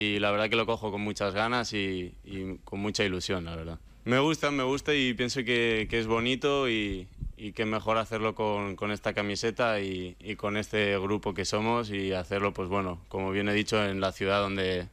y la verdad que lo cojo con muchas ganas y con mucha ilusión, la verdad. Me gusta y pienso que es bonito y que mejor hacerlo con esta camiseta y con este grupo que somos y hacerlo, pues bueno, como bien he dicho, en la ciudad donde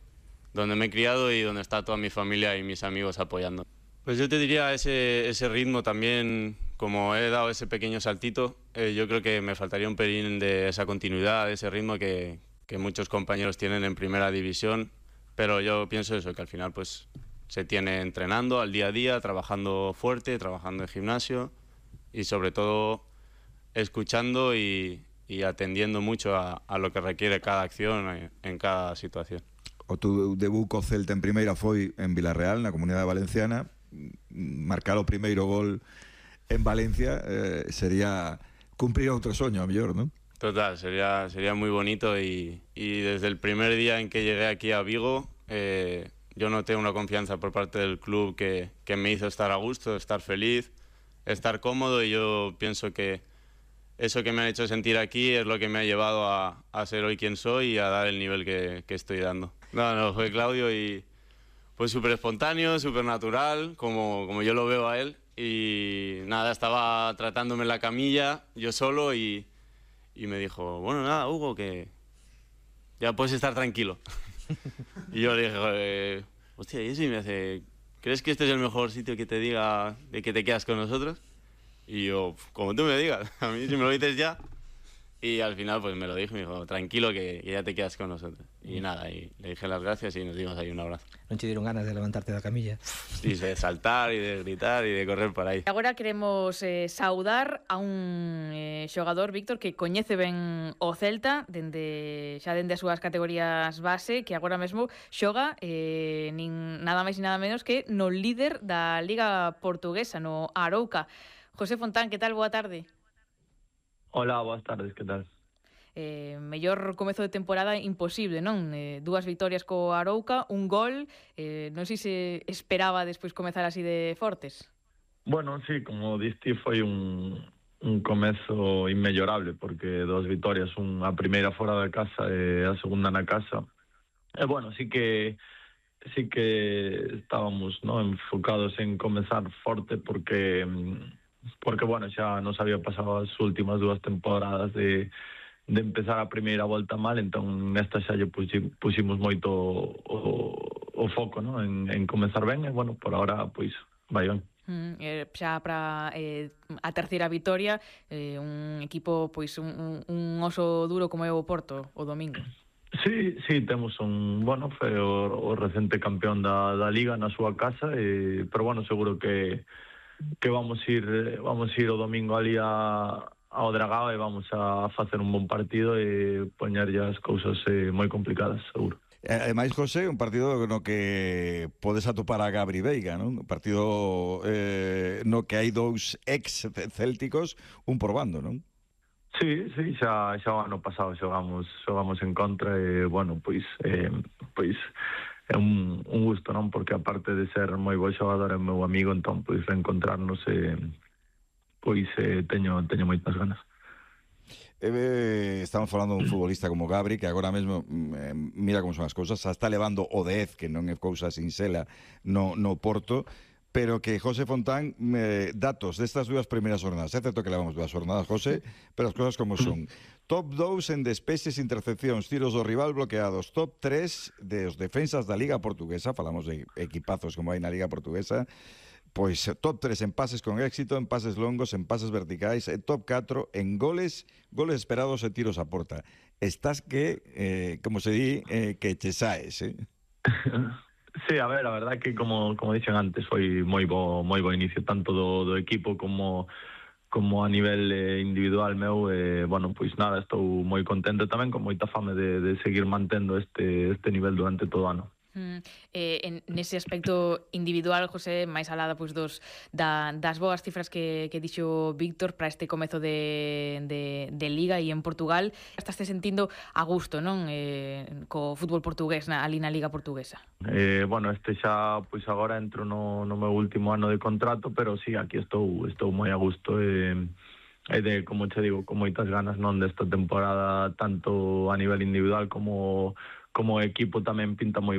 me he criado y donde está toda mi familia y mis amigos apoyando. Pues yo te diría ese ritmo también, como he dado ese pequeño saltito, yo creo que me faltaría un pelín de esa continuidad, de ese ritmo que muchos compañeros tienen en primera división, pero yo pienso eso, que al final pues se tiene entrenando al día a día, trabajando fuerte, trabajando en gimnasio y sobre todo escuchando y atendiendo mucho a lo que requiere cada acción en cada situación. O tu debut co Celta en primeira foi en Vilarreal, na Comunidade Valenciana. Marcar o primeiro gol en Valencia sería cumplir outro soño, a mellor, non? Total, sería muy bonito y desde el primer día en que llegué aquí a Vigo yo noté una confianza por parte del club que me hizo estar a gusto, estar feliz, estar cómodo, y yo pienso que eso que me ha hecho sentir aquí es lo que me ha llevado a ser hoy quien soy y a dar el nivel que estoy dando. No, fue Claudio y pues súper espontáneo, súper natural, como yo lo veo a él. Y nada, estaba tratándome en la camilla yo solo y me dijo, bueno, nada, Hugo, que ya puedes estar tranquilo. Y yo le dije, hostia, y eso, y me hace, ¿crees que este es el mejor sitio que te diga de que te quedas con nosotros? Y yo, como tú me digas, a mí si me lo dices ya. Y al final pues me lo dijo, me dijo, tranquilo que ya te quedas con nosotros. Y nada, y le dije las gracias y nos dimos ahí un abrazo. Non che dieron ganas de levantarte da camilla? Sí, de saltar y de gritar y de correr por aí. Agora queremos saudar a un xogador, Víctor, que coñece ben o Celta dende as súas categorías base, que agora mesmo xoga nin nada máis e nada menos que no líder da Liga Portuguesa, no Arouca. José Fontán, que tal? Boa tarde. Hola, boas tardes, que tal? Mellor comezo de temporada imposible, non? 2 vitorias co Arouca, un gol, non sei se esperaba despois comezar así de fortes. Bueno, sí, como diste, foi un comezo inmellorable, porque 2 vitorias, a primeira fora da casa e a segunda na casa. E bueno, sí que estábamos, ¿no?, enfocados en comezar forte porque bueno, xa nos había pasado as últimas 2 temporadas de empezar a primeira volta mal, entón nesta xa lle puximos moito o foco, ¿no?, en comezar ben, e bueno, por ahora pois vai ben. Xa para a terceira vitoria, un equipo pois un oso duro como é o Porto o domingo. Sí, temos bueno, foi o recente campeón da Liga na súa casa, pero bueno, seguro que vamos ir o domingo ali ao Dragao e vamos a facer un bon partido e poñerlle as cousas moi complicadas, seguro. Ademais, José, un partido no que podes atopar a Gabri Veiga, non? Un partido no que hai 2 ex-célticos, un por bando, non? Sí, xa o ano pasado xogamos en contra e, bueno, pois é un gusto, non? Porque aparte de ser moi bo xogador é meu amigo, entón pois reencontrarnos teño moitas ganas. Estamos falando de un futbolista como Gabri, que agora mesmo mira como son as cousas, xa está levando o 10, que non é cousa sinxela no Porto, pero que José Fontán, datos destas 2 primeiras jornadas, é certo que levamos 2 jornadas, José, pero as cousas como son: top 2 en despeses, intercepcións, tiros do rival bloqueados, top 3 dos defensas da Liga Portuguesa, falamos de equipazos como hai na Liga Portuguesa, pois top 3 en pases con éxito, en pases longos, en pases verticais, e top 4 en goles esperados e tiros a porta. Estás que, como se di, que che saes, Sí, a ver, a verdad que como dixen antes, foi moi bo inicio tanto do equipo como a nivel individual meu, bueno, pois nada, estou moi contento tamén, con moita fame de seguir mantendo este nivel durante todo o ano. Nese aspecto individual, José, máis alada pois das boas cifras que dixo Víctor para este comezo de Liga e en Portugal, estás sentindo a gusto, non? Co fútbol portugués ali na Liga Portuguesa. Bueno, xa pois agora entro no meu último ano de contrato, pero sí, aquí estou moi a gusto e como te digo, con moitas ganas, non, desta temporada, tanto a nivel individual como como equipo tamén pinta moi ben.